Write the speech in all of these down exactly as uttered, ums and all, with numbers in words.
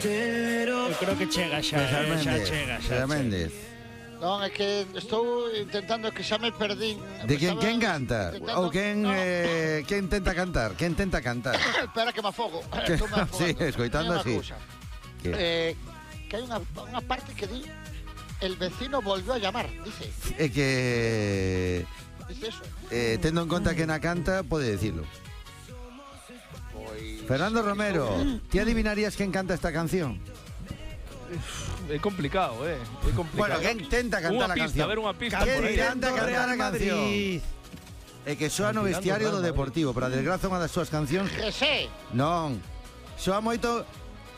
Eu creo que chega xa, eh, xa chega, xa Méndez. Non, é que estou intentando que xa me perdín. De quen, Estaba quen canta? intentando- Ou quen, No. eh, quen tenta cantar? Quen tenta cantar? Espera que me afogo. Que- Estou me afogando. sí, escoitando Hai unha así. cousa. Que- Eh, que hai unha, unha parte que di el vecino volvió a llamar, dice. É que Dice eso. eh, tendo en conta que na canta, pode decirlo. Pois... Fernando Romero, ti adivinarías quen canta esta canción? É complicado, eh. É complicado. Bueno, quen tenta cantar Unha a pista, canción? a ver unha pista Quen por aí. tenta cantar a canción? É que soa no Cantirando vestiario Real do Madrid. Deportivo, para desgraza unha das súas cancións. Que sé. Non. Soa moito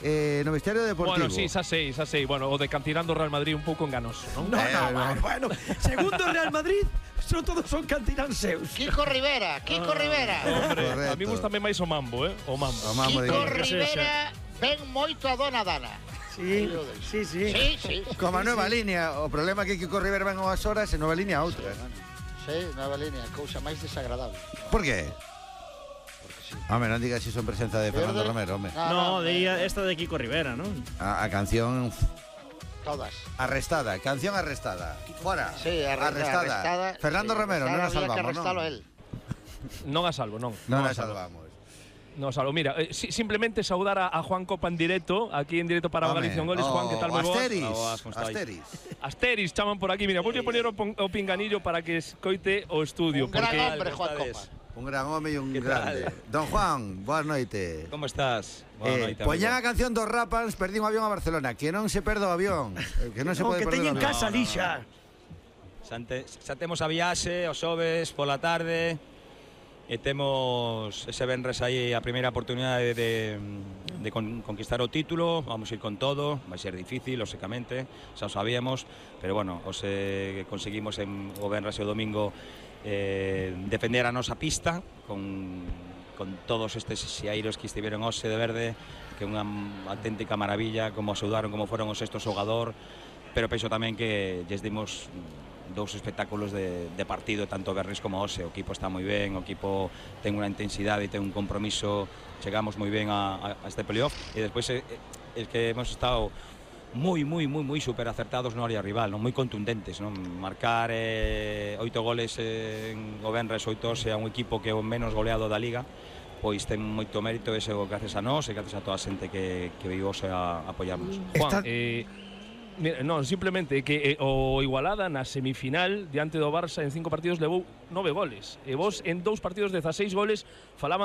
eh, no vestiario do Deportivo. Bueno, sí, xa sei, xa sei. Bueno, o de Cantirando Real Madrid un pouco enganoso, non? No, Eh, no, bueno. bueno, segundo Real Madrid, son todos son cantiranseus. Kiko Rivera, Kiko Rivera. Hombre, a Correcto. mí gustame máis o mambo, eh? O mambo. O mambo de Kiko Guillermo. Rivera ven moito a Dona Dana. Sí, sí, sí. Sí, sí. Como a nova línea, o problema é que Kiko Rivera ven unhas horas e nova línea outra. Sí, nova línea, cousa máis desagradable. Por que? Porque sí. Home, non digas iso en presenza de Fernando Verde. Romero, home. No, de esta de Kiko Rivera, ¿no? A, a canción Todas. arrestada, canción arrestada. Fora. Sí, arrestada. arrestada. Fernando sí, Romero, non a arrestada, había que salvamos, arrestalo non? a él. Non a salvo, non. Non a a salvamos. No, salvo. Mira, eh, si- simplemente saudar a, a Juan Copa en directo, aquí en directo para Home, Galicia en Goles. Juan, ¿qué tal? oh, Moi boas. Asteris, Hola, boas, como estáis? Asteris. Asteris, chaman por aquí. Mira, voy a poner o, pon- o pinganillo para que escoite o estudio. Un gran porque hombre, Juan Copa. Un gran home e un Que grande. tal? Don Juan, boas noites. Como estás? Boa Eh, noite, poñan amigo. a canción dos Rapans, perdí un avión a Barcelona. Que non se perda o avión. Eh, Que non se No, pode que perder o teñen avión. casa, No, no, lixa. Xa, te, xa temos a viaxe, os xoves, pola tarde. E temos ese venres aí a primeira oportunidade de, de con, conquistar o título. Vamos a ir con todo, vai ser difícil, lóxicamente, xa o sabíamos, pero bueno, os eh, conseguimos en o venres e o domingo eh, defender a nosa pista con, con todos estes xeiros que estiveron hoxe de verde, que é unha auténtica maravilla, como axudaron, como foron os sexto xogador, pero penso tamén que lles dimos dous espectáculos de, de partido, tanto Berris como Ose. O equipo está moi ben, o equipo ten unha intensidade e ten un compromiso, chegamos moi ben a, a este playoff, e despois é, é que hemos estado moi, moi, moi, moi super acertados no área rival, non moi contundentes, non? Marcar eh, oito goles en o Benres, oito Ose a un equipo que é o menos goleado da Liga, pois ten moito mérito, ese gracias a nós e gracias a toda a xente que, que veio Ose a, a apoiarnos. Juan, eh, mira, non, simplemente que eh, o Igualada na semifinal diante do Barça en cinco partidos levou nove goles. E vos en dous partidos dezaseis goles falaban